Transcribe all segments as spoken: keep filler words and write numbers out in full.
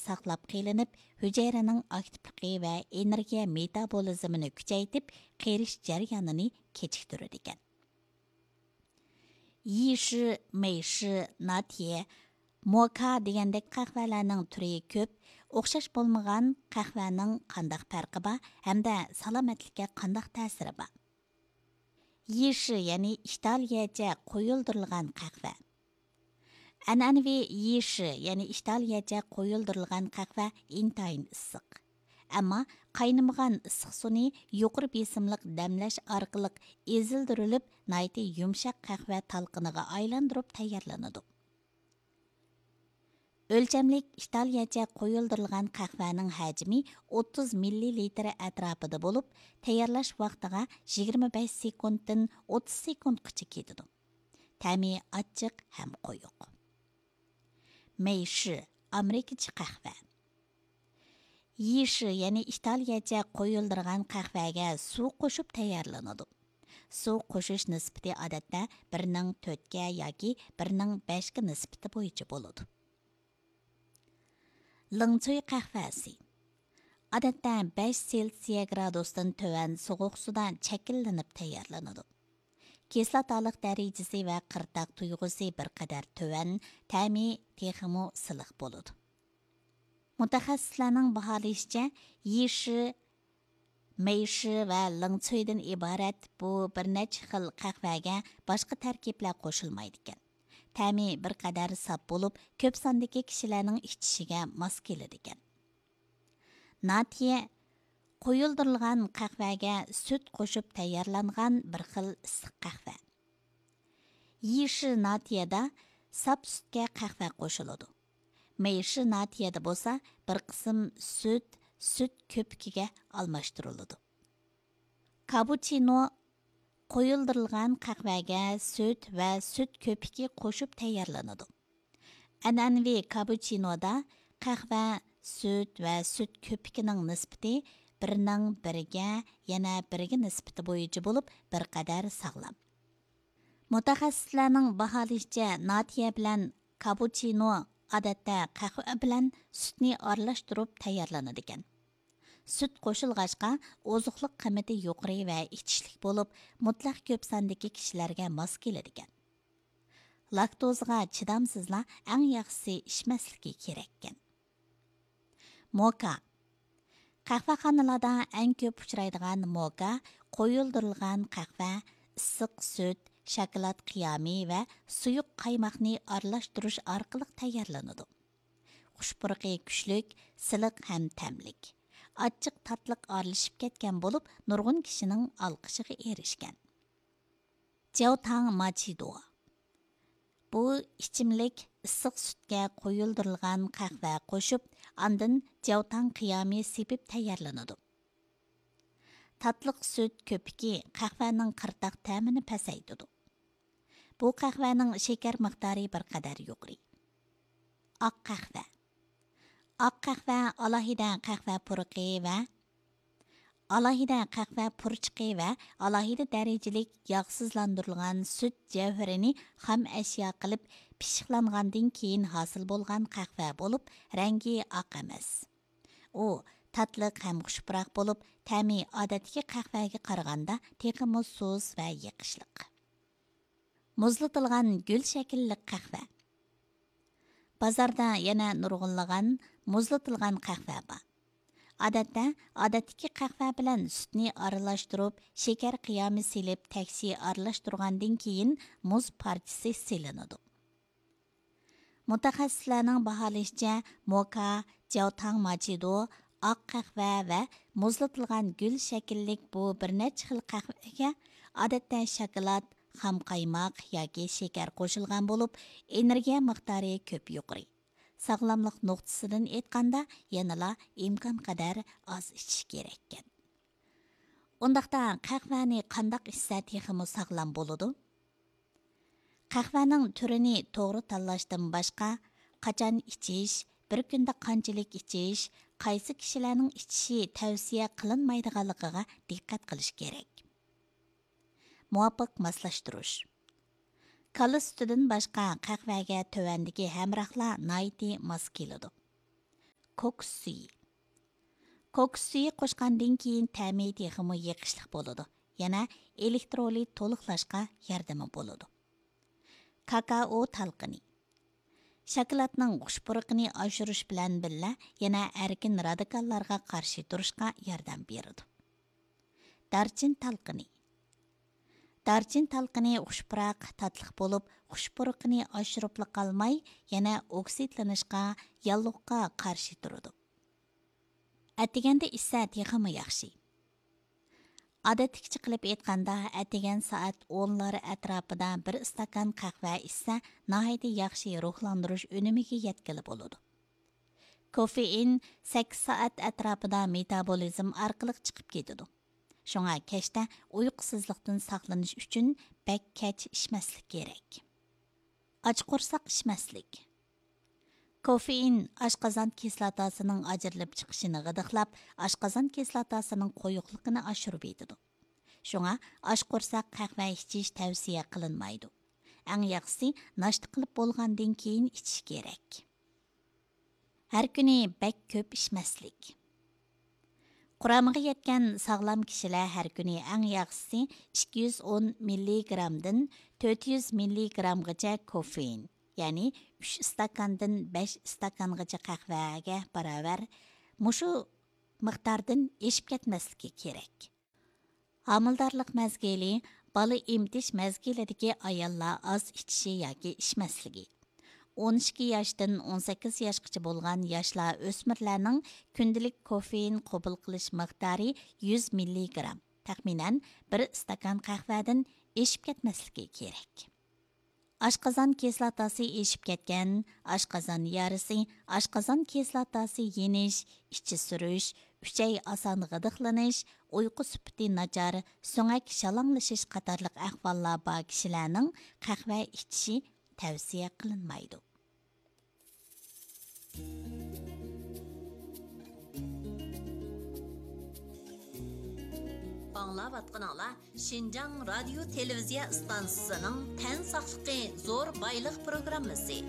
ساقلاپ قېلىنىپ، ھۈجەيرىنىڭ ئاكتىپلىقى ۋە ئېنېرگىيە مېتابولىزمىنى كۈچەيتىپ، قېرىش جەريانىنى كېچىكتۈرىدىكەن. يىشى، مېيشى، ناتيې، موكا دېگەندەك قەھۋەلەرنىڭ تۈرى كۆپ. ئوخشاش بولمىغان قەھۋەنىڭ قانداق پەرقى بار ھەمدە سالامەتلىككە قانداق تەسىرى بار؟ يىشى، يەنى ئىتالىيەچە قويۇلدۇرۇلغان قەھۋە. ئەنئەنىۋى يىشى، يەنى ئىتالىيەچە قويۇلدۇرۇلغان قەھۋە ئىنتايىن ئىسسىق. ئەمما قاينىمىغان ئىسسىق سۇنى يۇقىرى بېسىملىق دەملەش ئارقىلىق ئېزىلدۈرۈلۈپ، ناھايىتى يۇمشاق قەھۋە تالقىنىغا ئايلاندۇرۇپ تەييارلىنىدۇ. ئۆلچەملىك ئىتالىيەچە قويۇلدۇرۇلغان قەھۋەنىڭ ھەجمى ئوتتۇز مىللىلىتىر ئەتراپىدا بولۇپ، تەييارلاش ۋاقتىغا يىگىرمە بەش سېكۇنتتىن ئوتتۇز سېكۇنتقىچە كېتىدۇ. تەمى ئاچچىق ھەم قويۇق. مېيشى، ئامېرىكىچە قەھۋە. يىشى، يەنى ئىتالىيەچە قويۇلدۇرغان قەھۋەگە سۇ قوشۇپ تەييارلىنىدۇ. سۇ قوشۇش نىسبىتى ئادەتتە بىرنىڭ تۆتكە ياكى بىرنىڭ بەشكە نىسبىتى بويىچە بولىدۇ. لىڭچۈي قەھۋەسى. ئادەتتە بەش سېلسىيە گرادۇستىن تۆۋەن سوغۇق سۇدا چەكىلىنىپ تەييارلىنىدۇ. كىسلاتالىق دەرىجىسى ۋە قىرتاق تۇيغۇسى بىر قەدەر تۆۋەن، تەمى تېخىمۇ سىلىق بولىدۇ. مۇتەخەسسىسلەرنىڭ باھالىشىچە، يىشى، مېيشى ۋە لىڭچۈيدىن ئىبارەت بۇ بىر نەچچە خىل قەھۋەگە باشقا تەركىبلەر قوشۇلمايدىكەن. تەمى بىر قەدەر ساپ بولۇپ، كۆپ ساندىكى كىشىلەرنىڭ ئىچىشىگە ماس كېلىدىكەن. ناتيې، قويۇلدۇرۇلغان قەھۋەگە سۈت قوشۇپ تەييارلانغان بىر خىل ئىسسىق قەھۋە. يىشى ناتيېدا ساپ سۈتكە قەھۋە قوشۇلىدۇ. مېيشى ناتيېدا بولسا بىر قىسىم سۈت، سۈت كۆپۈكىگە ئالماشتۇرۇلىدۇ. كاپۇچىنو، قويۇلدۇرۇلغان قەھۋەگە سۈت ۋە سۈت كۆپۈكى قوشۇپ تەييارلىنىدۇ. ئەنئەنىۋى كاپۇچىنودا قەھۋە، سۈت ۋە سۈت كۆپۈكىنىڭ نىسبىتى بىرنىڭ بىرگە، يەنە بىرگە نىسبىتى بويىچە بولۇپ، بىر قەدەر ساغلام. مۇتەخەسسىسلەرنىڭ باھالىشىچە، ناتيې بىلەن كاپۇچىنو ئادەتتە قەھۋە بىلەن سۈتنى ئارىلاشتۇرۇپ تەييارلىنىدىكەن. سۈت قوشۇلغاچقا، ئوزۇقلۇق قىممىتى يۇقىرى ۋە ئىچىشلىك بولۇپ، مۇتلەق كۆپ ساندىكى كىشىلەرگە ماس كېلىدىكەن. لاكتوزىغا چىدامسىزلار ئەڭ ياخشىسى ئىچمەسلىكى كېرەككەن. موكا. قەھۋەخانىلاردا ئەڭ كۆپ ئۇچرايدىغان موكا قويۇلدۇرۇلغان قەھۋە، ئىسسىق سۈت، شاكىلات قىيامى ۋە سۇيۇق قايماقنى ئارىلاشتۇرۇش ئارقىلىق تەييارلىنىدۇ. خۇش پۇرىقى كۈچلۈك، سىلىق ھەم تەملىك. ئاچچىق تاتلىق ئارىلىشىپ كەتكەن بولۇپ، نۇرغۇن كىشىنىڭ ئالقىشىغا ئېرىشكەن. جياۋتاڭ ماچىدو. بۇ ئىچىملىك ئىسسىق سۈتكە قويۇلدۇرۇلغان قەھۋە قوشۇپ، ئاندىن جياۋتاڭ قىيامى سېپىپ تەييارلىنىدۇ. تاتلىق سۈت كۆپۈكى قەھۋەنىڭ قىرتاق تەمىنى پەسەيتىدۇ. بۇ قەھۋەنىڭ شېكەر مىقدارى بىر قەدەر يۇقىرى. ئاق قەھۋە. ئاق قەھۋە ئالاھىدە قەھۋە پۇرىقى ۋە ئالاھىدە قەھۋە پۇرىچىقى ۋە ئالاھىدە دەرىجىلىك ياغسىزلاندۇرۇلغان سۈت جەۋھىرىنى خام ئەشيا قىلىپ پىششىقلانغاندىن كېيىن ھاسىل بولغان قەھۋە بولۇپ، رەڭگى ئاق ئەمەس. ئۇ تاتلىق ھەم خۇش پۇراق بولۇپ، تەمى ئادەتتىكى قەھۋەگە قارىغاندا تېخىمۇ سۇس ۋە يېقىشلىق. مۇزلىتىلغان گۈل شەكىللىك قەھۋە. بازاردا يەنە نۇرغۇنلىغان مۇزلىتىلغان قەھۋە بار. ئادەتتە، ئادەتتىكى قەھۋە بىلەن سۈتنى ئارىلاشتۇرۇپ، شېكەر قىيامى سېلىپ، تەكشى ئارىلاشتۇرغاندىن كېيىن مۇز پارچىسى سېلىنىدۇ. مۇتەخەسسىسلەرنىڭ باھالىشىچە، موكا، جياۋتاڭ ماچىدو، ئاق قەھۋە ۋە مۇزلىتىلغان گۈل شەكىللىك بۇ بىر نەچچە خىل قەھۋىگە ئادەتتە شاكىلات، خام قايماق ياكى شېكەر قوشۇلغان بولۇپ، ئېنېرگىيە مىقدارى كۆپ يۇقىرى. ساغلاملىق نۇقتىسىدىن ئېيتقاندا، يەنىلا ئىمكانقەدەر ئاز ئىچىش كېرەككەن. ئۇنداقتا قەھۋەنى قانداق ئىچسە تېخىمۇ ساغلام بولىدۇ؟ قەھۋەنىڭ تۈرىنى توغرا تاللاشتىن باشقا، قاچان ئىچىش، بىر كۈندە قانچىلىك ئىچىش، قايسى كىشىلەرنىڭ ئىچىشى تەۋسىيە قىلىنمايدىغانلىقىغا دىققەت قىلىش كېرەك. مۇۋاپىق ماسلاشتۇرۇش. كالا سۈتىدىن باشقا قەھۋەگە تۆۋەندىكى ھەمراھلار ناھايىتى ماس كېلىدۇ. كوكۇس سۈيى. كوكۇس سۈيى قوشقاندىن كېيىن تەمى تېخىمۇ يېقىشلىق بولىدۇ. يەنە ئېلېكترولىت تولۇقلاشقا ياردىمى بولىدۇ. كاكائو تالقىنى. شاكىلاتنىڭ خۇش پۇرىقىنى ئاشۇرۇش بىلەن بىللە، يەنە ئەركىن رادىكاللارغا قارشى تۇرۇشقا ياردەم بېرىدۇ. دارچىن تالقىنى. دارچىن تالقىنى خۇش پۇراق، تاتلىق بولۇپ، خۇش پۇرىقىنى ئاشۇرۇپلا قالماي، يەنە ئوكسىدلىنىشقا، ياللۇغقا قارشى تۇرىدۇ. ئەتىگەندە ئىچسە تېخىمۇ ياخشى. ئادەتتىكىچە قىلىپ ئېيتقاندا، ئەتىگەن سائەت ئونلار ئەتراپىدا بىر ئىستاكان قەھۋە ئىچسە، ناھايىتى ياخشى روھلاندۇرۇش ئۈنۈمىگە يەتكىلى بولىدۇ. كوفېئىن سەككىز سائەت ئەتراپىدا مېتابولىزم ئارقىلىق چىقىپ كېتىدۇ. شۇڭا كەچتە ئۇيقۇسىزلىقتىن ساقلىنىش ئۈچۈن بەك كەچ ئىچمەسلىك كېرەك. ئاچ قورساق ئىچمەسلىك. كوفېئىن ئاشقازان كىسلاتاسىنىڭ ئاجرىلىپ چىقىشىنى غىدىقلاپ، ئاشقازان كىسلاتاسىنىڭ قويۇقلۇقىنى ئاشۇرۇۋېتىدۇ. شۇڭا ئاچ قورساق قەھۋە ئىچىش تەۋسىيە قىلىنمايدۇ. ئەڭ ياخشىسى ناشتا قىلىپ بولغاندىن كېيىن ئىچىش كېرەك. ھەر كۈنى بەك كۆپ ئىچمەسلىك. قۇرامىغا يەتكەن ساغلام كىشىلەر ھەر كۈنى ئەڭ ياخشىسى ئىككى يۈز ئون مىللىگرامدىن تۆت يۈز مىللىگرامغىچە كوفېئىن، يەنى ئۈچ ئىستاكاندىن بەش ئىستاكانغىچە قەھۋەگە باراۋەر مۇشۇ مىقداردىن ئېشىپ كەتمەسلىكى كېرەك. ھامىلىدارلىق مەزگىلى، بالا ئېمىتىش مەزگىلىدىكى ئاياللار ئاز ئىچىشى ياكى ئىچمەسلىكى. ئون ئىككى ياشتىن ئون سەككىز ياشقىچە بولغان ياشلار، ئۆسمۈرلەرنىڭ كۈندىلىك كوفېئىن قوبۇل قىلىش مىقدارى يۈز مىللىگرام، تەخمىنەن بىر ئىستاكان قەھۋەدىن ئېشىپ كەتمەسلىكى كېرەك. ئاشقازان كىسلاتاسى ئېشىپ كەتكەن، ئاشقازان يارىسى، ئاشقازان كىسلاتاسى يېنىش، ئىچى سۈرۈش، ئۈچەي ئاسان غىدىقلىنىش، ئۇيقۇ سۈپىتى ناچار، سۆڭەك شالاڭلىشىش قاتارلىق ئەھۋاللار بار كىشىلەرنىڭ قەھۋە ئىچىشى تەۋسىيە قىلىنمايدۇ. ئاڭلاۋاتقىنىڭلار شىنجاڭ رادىيو تېلېۋىزىيە ئىستانسىسىنىڭ تەن ساقلىقى زور بايلىق پروگراممىسى.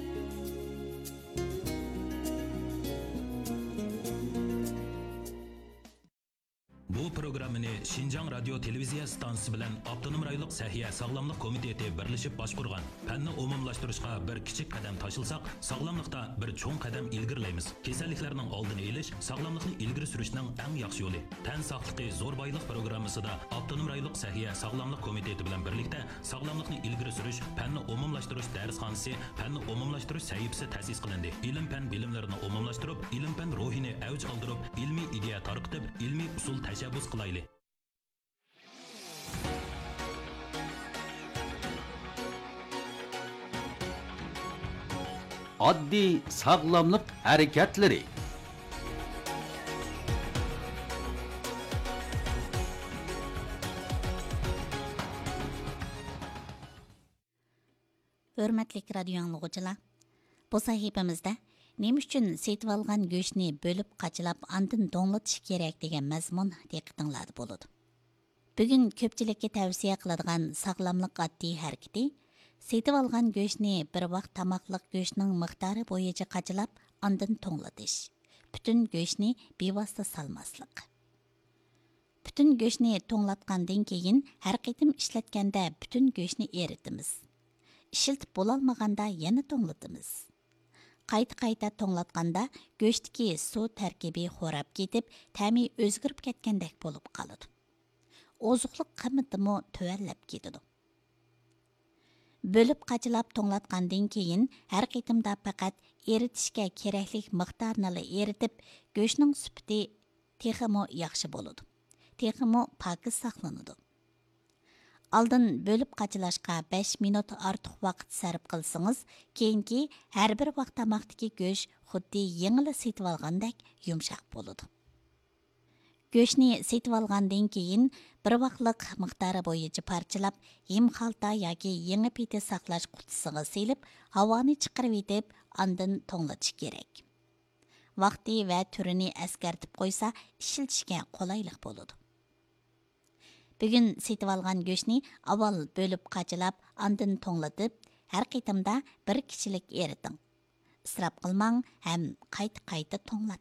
بۇ پروگراممىنى شىنجاڭ رادىيو تېلېۋىزىيە ئىستانسىسى بىلەن ئاپتونوم رايونلۇق سەھىيە ساغلاملىق كومىتېتى بىرلىشىپ باشقۇرغان. پەننى ئومۇملاشتۇرۇشقا بىر كىچىك قەدەم تاشلىساق، ساغلاملىقتا بىر چوڭ قەدەم ئىلگىرىلەيمىز. كېسەللىكلەرنىڭ ئالدىنى ئېلىش، ساغلاملىقنى ئىلگىرى سۈرۈشنىڭ ئەڭ ياخشى يولى. تەن ساقلىقى زور بايلىق پروگراممىسىدا ئاپتونوم رايونلۇق سەھىيە ساغلاملىق كومىتېتى بىلەن بىرلىكتە ساغلاملىقنى ئىلگىرى سۈرۈش، پەننى ئومۇملاشتۇرۇش دەرسخانىسى، پەننى ئومۇملاشتۇرۇش سەھىپىسى تەسىس قىلىندى. ئىلىم-پەن بىلىملىرىنى ئومۇملاشتۇرۇپ، ئىلىم-پەن روھىنى ئەۋج ئالدۇرۇپ، ئىلمىي ئىدىيە تارقىتىپ، ئىلمىي ئۇسۇل تەشەببۇس قىلايلى. ئاددىي ساغلاملىق ھەرىكەتلىرى. ھۆرمەتلىك رادىيو ئاڭلىغۇچىلار، بۇ سەھىپىمىزدە نېمە ئۈچۈن سېتىۋالغان گۆشنى بۆلۈپ قاچىلاپ، ئاندىن توڭلىتىش كېرەك دېگەن مەزمۇن دىققىتىڭلاردا بولىدۇ. بۈگۈن كۆپچىلىككە تەۋسىيە قىلىدىغان ساغلاملىق ئاددىي ھەرىكىتى، سېتىۋالغان گۆشنى بىر ۋاق تاماقلىق گۆشنىڭ مىقدارى بويىچە قاچىلاپ، ئاندىن توڭلىتىش. پۈتۈن گۆشنى بىۋاسىتە سالماسلىق. پۈتۈن گۆشنى توڭلاتقاندىن كېيىن، ھەر قېتىم ئىشلەتكەندە پۈتۈن گۆشنى ئېرىتىمىز. ئىشلىتىپ بولالمىغاندا يەنە توڭلىتىمىز. قايتا-قايتا توڭلاتقاندا گۆشتىكى سۇ تەركىبى خوراپ كېتىپ، تەمى ئۆزگىرىپ كەتكەندەك بولۇپ قالىدۇ. ئوزۇقلۇق قىممىتىمۇ تۆۋەنلەپ كېتىدۇ. بۆلۈپ قاچىلاپ توڭلاتقاندىن كېيىن، ھەر قېتىمدا پەقەت ئېرىتىشكە كېرەكلىك مىقدارنىلا ئېرىتىپ، گۆشنىڭ سۈپىتى تېخىمۇ ياخشى بولىدۇ، تېخىمۇ پاكىز ساقلىنىدۇ. ئالدىن بۆلۈپ قاچىلاشقا بەش مىنۇت ئارتۇق ۋاقىت سەرپ قىلسىڭىز، كېيىنكى ھەر بىر ۋاق تاماقتىكى گۆش خۇددى يېڭىلا سېتىۋالغاندەك يۇمشاق بولىدۇ. گۆشنى سېتىۋالغاندىن كېيىن، بىر ۋاقلىق مىقدارى بويىچە پارچىلاپ، ھىم خالتا ياكى يېڭى پېتى ساقلاش قۇتىسىغا سېلىپ، ھاۋانى چىقىرىۋېتىپ، ئاندىن توڭلىتىش كېرەك. ۋاقتى ۋە تۈرىنى ئەسكەرتىپ قويسا، ئىشلىتىشكە قولايلىق بولىدۇ. بۈگۈن سېتىۋالغان گۆشنى ئاۋۋال بۆلۈپ قاچىلاپ، ئاندىن توڭلىتىپ، ھەر قېتىمدا بىر كىشىلىك ئېرىتىڭ. ئىسراپ قىلماڭ ھەم قايتا-قايتا توڭلاتماڭ.